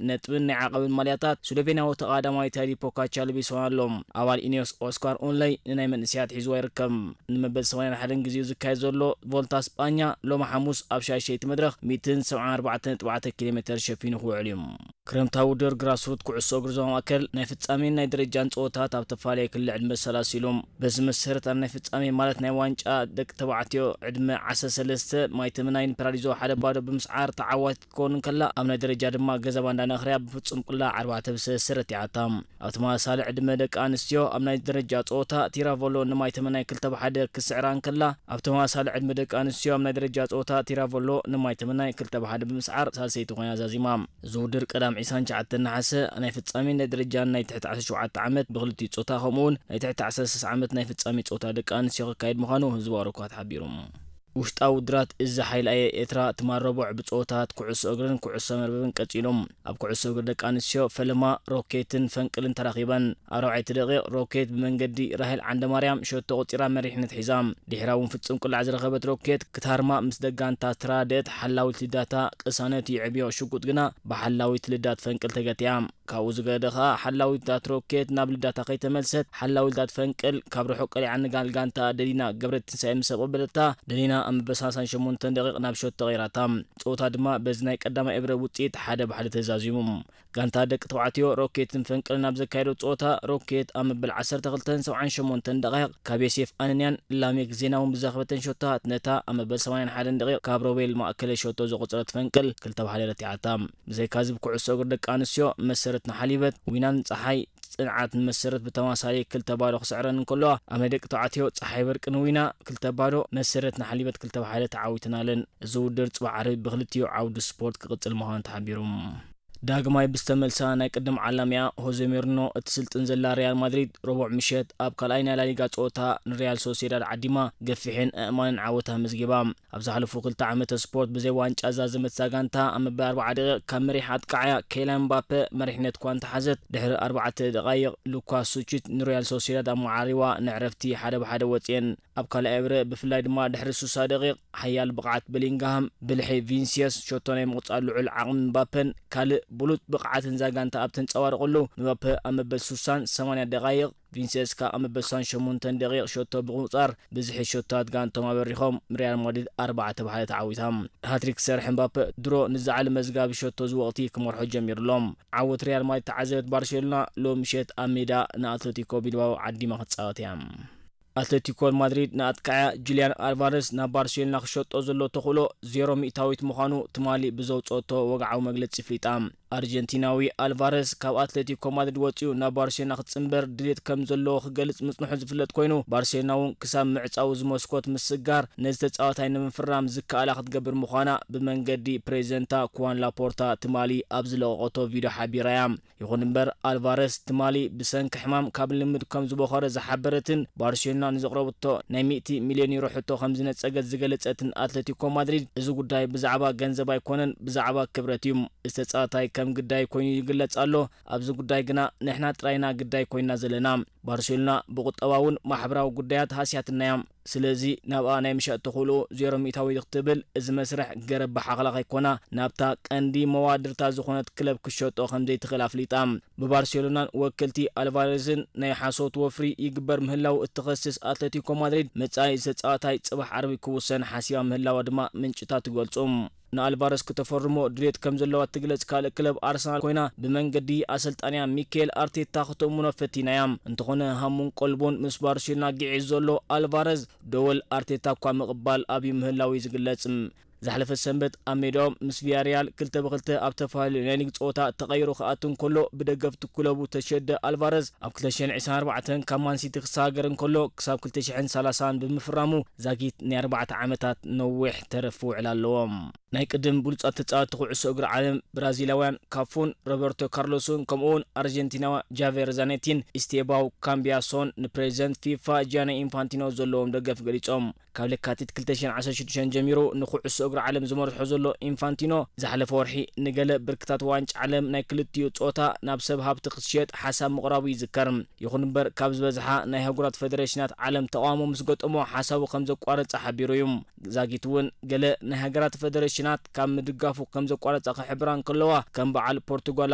ነጥብን ናይ ዓቐብን ማልያታት ስሎቬንያዊ ተቐዳማይ ታይዲ ፖካቻ ለቢስዋ ኣሎ። ኣባል ኢኒዮስ ኦስካር ኡንለይ ንናይ መንእሰያት ሒዝዋ ይርከብ። ንመበል ሰማንያን ሓደን ግዜኡ ዝካየድ ዘሎ ቮልታ ስጳኛ ሎሚ ሓሙስ ኣብ ሻድሸይቲ መድረኽ ሚእትን ሰብዓን ኣርባዕተን ነጥቢ ኣርባዕተ ኪሎ ሜተር ሸፊኑ ክውዕል እዩ። ክረምታዊ ውድድር ግራስሩት ኩዕሶ እግሪ ዞባ ማእከል ናይ ፍጻሜን ናይ ደረጃን ጸወታት ኣብ ተፈላለየ ክሊ ዕድመ ሰላሲሎም። በዚ መሰረት ኣብ ናይ ፍጻሜ ማለት ናይ ዋንጫ ደቂ ተባዕትዮ ዕድመ ዓሰርተ ሰለስተ ማይ ተመናይን ፓራዲዞ ሓደ ባዶ ብምስዓር ተዓዋቲት ክትከውን እንከላ፣ ኣብ ናይ ደረጃ ድማ ገዛ ባንዳ ነኽርያ ብፍጹም ቁላዕ ኣርባዕተ ብ ሰለስተ ረቲዓታ። ኣብ ተመሳሳሊ ዕድመ ደቂ ኣንስትዮ ኣብ ናይ ደረጃ ጸወታ ቲራቮሎ ንማይ ተመናይ ክልተ ብ ሓደ ክስዕራ እንከላ፣ ኣብ ተመሳሳሊ ዕድመ ደቂ ኣንስትዮ ኣብ ናይ ደረጃ ጸወታ ቲራቮሎ ንማይ ተመናይ ክልተ ብ ሓደ ብምስዓር ሳልሰይቲ ኮይና ዛዚማ። እዚ ውድድር ቀዳም ዕስራን ትሽዓተን ነሓሰ ናይ ፍጻሜን ናይ ደረጃን ናይ ትሕቲ ዓሰርተ ሸውዓተ ዓመት ብክልቲኡ ጾታ፣ ከምኡ እውን ናይ ትሕቲ ዓሰርተ ሰለስተ ዓመት ናይ ፍጻሜ ጾታ ደቂ ኣንስትዮ ክካየድ ምዃኑ ህዝባዊ ረኳት ሓቢሩ። ውሽጣዊ ውድድራት እዚ ሓይሊ ኣየር ኤርትራ ትማል ረቡዕ ብጸወታት ኩዕሶ እግርን ኩዕሶ መርበብን ቀጺሎም። ኣብ ኩዕሶ እግሪ ደቂ ኣንስትዮ ፈለማ ሮኬትን ፈንቅልን ተራኺበን። ኣብ ራብዓይቲ ደቂቕ ሮኬት ብመንገዲ ራሄል ዓንደማርያም ሸቶ ቆጺራ መሪሕነት ሒዛ። ድሕራ እውን ፍጹም ቁላዕ ዝረኸበት ሮኬት ክትሃርማ ምስ ደጋንታ ተራደት ሓላዊት ልዳታ ቅሳነት ይዕብዮ ሽጉጥ ግና ብሓላዊት ልዳት ፈንቅል ተገቲያ። ካብኡ ዝገደ ኸኣ ሓላዊት ልዳት ሮኬት ናብ ልዳታ ከይተመልሰት ሓላዊት ልዳት ፈንቅል ካብ ርሑቕ ቀሊዓ ንጋል ጋንታ ደሊና ገብረትንሳኤ ምስ ኣቐበለታ ደሊና ኣብ መበል ሰላሳን ሸሞንተን ደቂቕ ናብ ሸቶ ቀይራታ። ጸወታ ድማ በዚ ናይ ቀዳማይ እብረ ውጽኢት ሓደ ብ ሓደ ተዛዚሙ። ጋንታ ደቂ ተባዕትዮ ሮኬትን ፈንቅልን ኣብ ዘካየዶ ጸወታ ሮኬት ኣብ መበል ዓሰርተ ክልተን ሰብዓን ሸሞንተን ደቂቕ ካብ ዮሴፍ ኣነንያን ላሜክ ዜናውን ብዘረኸበተን ሸቶታት ነታ ኣብ መበል ሰማንያን ሓደን ደቂቕ ካብ ሮቤል ማእከለ ሸቶ ዘቆጸረት ፈንቅል ክልተ ብ ሓደ ረቲዓታ። ብዘይካዚ ብኩዕሶ እግሪ ደቂ ኣንስትዮ መሰረት ንሓሊበት ዊናን ጸሓይ ጽንዓት ንመሰረት ብተመሳሳሊ ክልተ ባዶ ክስዕረን እንከለዋ፣ ኣብ ናይ ደቂ ተባዕትዮ ጸሓይ በርቂ ንዊና ክልተ ባዶ፣ መሰረት ንሓሊበት ክልተ ብ ሓደ ተዓዊተናለን። እዚ ውድድር ጽባሕ ዓርቢ ብክልቲኡ ዓውዲ ስፖርት ክቕጽል ምዃኑ ተሓቢሩ። ዳግማይ ብዝተመልሳ ናይ ቅድም ዓላሚኣ ሆዜ ሞሪኖ እትስልጥን ዘላ ሪያል ማድሪድ፣ ረቡዕ ምሸት ኣብ ካልኣይ ናይ ላሊጋ ጸወታ ንሪያል ሶሴዳድ ዓዲማ ገፊሕን ኣእማንን ዓወት ኣመዝጊባ። ኣብ ዝሓለፉ ክልተ ዓመተ ስፖርት ብዘይ ዋንጫ ዝዛዘመት እዛ ጋንታ፣ ኣብ መበል ኣርብዓ ደቂቕ ካብ መሪሕ ኣጥቃዓያ ኬይላን ምባፔ መሪሕነት እኳ እንተሓዘት፣ ድሕሪ ኣርባዕተ ደቓይቕ ሉካስ ሱቺች ንሪያል ሶሴዳድ ኣመዓሪዋ ንዕረፍቲ ሓደ ብ ሓደ ወጽኤን። ኣብ ካልኣይ እብረ ብፍላይ ድማ ድሕሪ ስሳ ደቂቕ ሓያል ብቕዓት ቤሊንግሃም፣ ብልሒ ቪንሲየስ፣ ሸቶ ናይ ምቕጻል ልዑል ዓቕሚ ምባፔን ካልእ ብሉጽ ብቕዓትን እዛ ጋንታ ኣብ ተንጸባረቐሉ፣ ምባፔ ኣብ መበል ስሳን ሰማንያን ደቓይቕ፣ ቪንሲየስ ከኣ ኣብ መበል ስሳን ሸሞንተን ደቂቕ ሸቶ ብምቑጻር ብዝሒ ሸቶታት ጋንቶም ኣበሪኾም ሪያል ማድሪድ ኣርባዕተ ብ ሓደ ተዓዊታ። ሃትሪክ ዝሰርሐ ምባፔ ድሮ ንዝለዓለ መዝጋቢ ሸቶ እዚ ወቕቲ ክመርሖ ጀሚሩ ኣሎ። ዓወት ሪያል ማድሪድ ተዓዘበት ባርሴሎና ሎሚ ምሸት ኣብ ሜዳ ንኣትለቲኮ ቢልባኦ ዓዲማ ክትጻወት እያ። ኣትለቲኮ ማድሪድ ንኣጥቃዓያ ጁልያን ኣልቫረስ ናብ ባርሴሎና ክሸጦ ዘሎ ተኽእሎ ዜሮ ሚእታዊት ምዃኑ ትማሊ ብዘውጸኦቶ ወግዓዊ መግለጺ ኣፍሊጣ። ኣርጀንቲናዊ ኣልቫረስ ካብ ኣትሌቲኮ ማድሪድ ወጺኡ ናብ ባርሴሎና ክጽንበር ድሌት ከም ዘለዎ ክገልጽ ምጽንሑ ዝፍለጥ ኮይኑ፣ ባርሴሎና እውን ክሳብ ምዕጻው እዚ መስኮት ምስጋር ነዚ ተጻዋታይ ንምፍራም ዝከኣላ ክትገብር ምዃና ብመንገዲ ፕሬዚደንታ ኩዋን ላፖርታ ትማሊ ኣብ ዝለቐቐቶ ቪድዮ ሓቢራ እያ። ይኹን እምበር፣ ኣልቫረስ ትማሊ ብሰንኪ ሕማም ካብ ልምምድ ከም ዝበኾረ ዝሓበረትን ባርሴሎና ንዘቕረበቶ ናይ ሚእቲ ሚልዮን ዩሮ ሕቶ ከም ዝነጸገት ዝገለጸትን ኣትሌቲኮ ማድሪድ፣ እዚ ጉዳይ ብዛዕባ ገንዘብ ኣይኮነን፣ ብዛዕባ ክብረት እዩ። እዚ ተጻዋታይ ከም ግዳይ ኮይኑ ይግለጽ ኣሎ። ኣብዚ ጉዳይ ግና ንሕና ጥራይና ግዳይ ኮይና ዘለና። ባርሴሎና ብቁጠባውን ማሕበራዊ ጉዳያት ሃስያትና እያ። ስለዚ ናብኣ ናይ ምሻጥ ተኽእሎ ዜሮ ሚእታዊ ክትብል፣ እዚ መስርሕ ገረብ ብሓኽላ ከይኮና ናብታ ቀንዲ መዋድርታ ዝኾነት ክለብ ክሸጦ ከም ዘይትኽእል ኣፍሊጣ። ብባርሴሎናን ወከልቲ ኣልቫሬዝን ናይ ሓሶት ወፍሪ ይግበር ምህላው እትኸስስ ኣትሌቲኮ ማድሪድ፣ መጻኢ ዝተጻዋታይ ጽባሕ ዓርቢ ክውሰን ሓሲባ ምህላዋ ድማ ምንጭታት ይገልጹ። ንኣልቫረስ ክተፈርሞ ድሌት ከም ዘለዋ እትግለጽ ካልእ ክለብ ኣርሰናል ኮይና፣ ብመንገዲ ኣሰልጣንያ ሚካኤል ኣርቴታ ክትእምኖ ፈቲናያ። እንተኾነ ሃሙን ቀልቡን ምስ ባርሴሎና ግዒዝ ዘሎ ኣልቫረዝ፣ ደወል ኣርቴታ እኳ ምቕባል ኣብዩ ምህላው እዩ ዝግለጽ። ዝሓለፈ ሰንበት ኣብ ሜዳኦም ምስ ቪያሪያል ክልተ ብክልተ ኣብ ተፈላለዩ ናይ ሊግ ጸወታ ተቐይሩ ክኣቱ እንከሎ፣ ብደገፍቲ ክለቡ ተሸደ ኣልቫረዝ፣ ኣብ ክልተ ሽሕን ዕስራን ኣርባዕተን ካብ ማንሲቲ ክሰጋገር እንከሎ፣ ክሳብ ክልተ ሽሕን ሰላሳን ብምፍራሙ፣ ዛጊት ናይ ኣርባዕተ ዓመታት ነዊሕ ተረፍ ውዕል ኣለዎም። ናይ ቅድም ብሉጻት ተጻወትቲ ኩዕሶ እግሪ ዓለም ብራዚላውያን ካፉን ሮበርቶ ካርሎስን፣ ከምኡውን ኣርጀንቲናዊ ጃቬር ዛኔቲን ኢስቴባው ካምቢያሶን ንፕሬዚደንት ፊፋ ጂያኒ ኢንፋንቲኖ ዘለዎም ደገፍ ገሊጾም። ካብ ለካቲት ክልተ ሽሕን ዓሰርተ ሽዱሽተን ጀሚሩ ንኩዕሶ እግሪ ዓለም ዝመርሖ ዘሎ ኢንፋንቲኖ፣ ዝሓለፈ ወርሒ ንገለ ብርክታት ዋንጫ ዓለም ናይ ክልቲኡ ጾታ ናብ ሰብ ሃብቲ ክትሸጥ ሓሳብ ምቕራቡ ይዝከር። ይኹን እምበር፣ ካብ ዝበዝሓ ናይ ኣህጉራት ፈደረሽናት ዓለም ተቓውሞ ምስ ገጠሞ ሓሳቡ ከም ዘቋረጸ ሓቢሩ እዩ። ዛጊት እውን ገለ ናይ ሃገራት ፈደረሽናት ካብ ምድጋፉ ከም ዘቋረጸ ክሕብራ እንከለዋ፣ ከም በዓል ፖርቱጋል